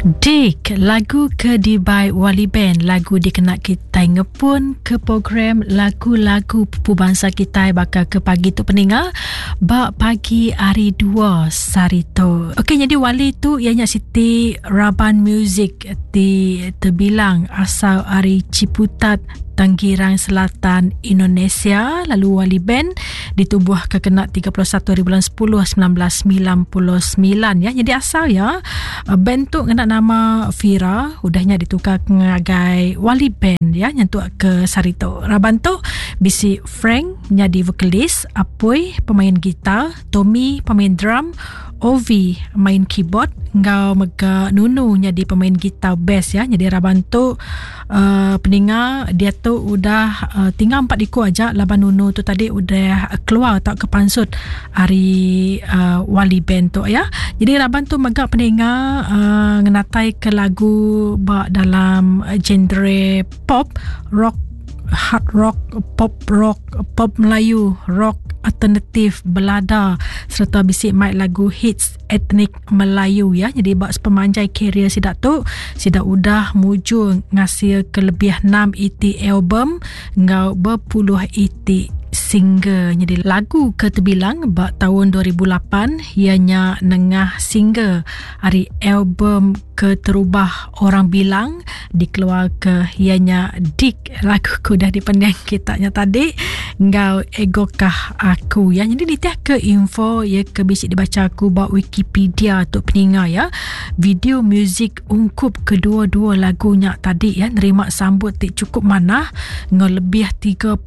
Dik, lagu ke dibai Wali Band, lagu dikena kitai ngepun ke program lagu-lagu pupu bansa kitai baka ke pagi tu peninga ba pagi hari dua sehari tu. Okey, jadi Wali tu iya nya siti raban muzik ti terbilang asal ari Ciputat Tangerang Selatan, Indonesia lalu Wali Band ditubuhka kena 31 hari bulan 10 1999 ya. Jadi asal ya eh, band tu ngena nama Fira udahnya ditukar ngagai Wali Band ya nyentuk ke sehari tu. Raban tu bisi Frank nyadi vokalis, Apoi pemain gitar, Tommy pemain drum, Ovi main keyboard enggau mega Nunu nyadi pemain gitar bass ya. Jadi raban tu uh, peninga dia tu udah uh, tinggal empat iku aja laban Nunu tu tadi udah keluar atau ke pansut ari uh, Wali Band tu ya. Jadi raban tu mega peninga uh, ngenatai ke lagu ba dalam genre pop, rock, hard rock, pop rock, pop Melayu, rock alternatif, belada serta bisi mai lagu hits etnik Melayu ya. Jadi ba sepemanjai karier sida tu, sida udah mujur ngasil ke lebih 6 iti album enggau berpuluh iti single. Jadi lagu ke terbilang ba tahun 2008 ianya nengah single ari album keterubah orang bilang dikeluarka ianya Dik lagu ke udah dipending kita nya tadi enggau Egokah Aku ya. Jadi nitih ke info ya ke bisi dibaca aku ba Wikipedia tu peninga ya. Video muzik ungkup kedua-dua lagu nya tadi ya nerima sambut ti cukup manah enggau lebih 3.5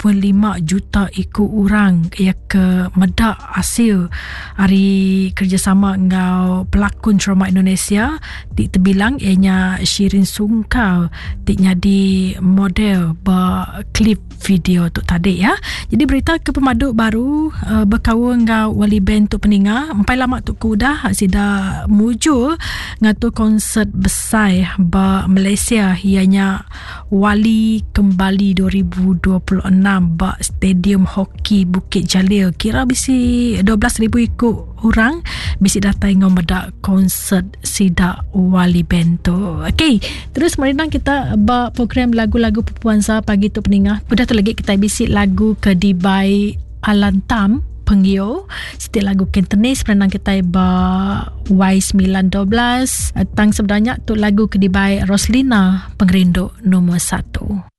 juta iku orang ya ke meda asil ari kerjasama enggau pelakon drama Indonesia ti tebilang iya nya Shirin Sungkar ti nyadi model ba klip video tu tadi ya. Jadi berita ke pemadu baru uh, bekaul enggau Wali Band tu peninga empai lama tu ke udah sida mujur ngatur konsert besai ba Malaysia iya nya Wali Kembali 2026 ba Stadium Hoki Bukit Jalil. Kira bisi 12,000 iku orang bisi datai enggau meda konsert sida Wali Band tu. Okey, terus merindang kita ba program lagu-lagu Puansa pagi tu peningah. Udah tu lagi kita bisi lagu ke dibai Alan Tam Penggio. Siti lagu Cantonese perenang kita ba Y912. Tang sebenarnya tu lagu ke dibai Roslina Pengerindu nombor 1.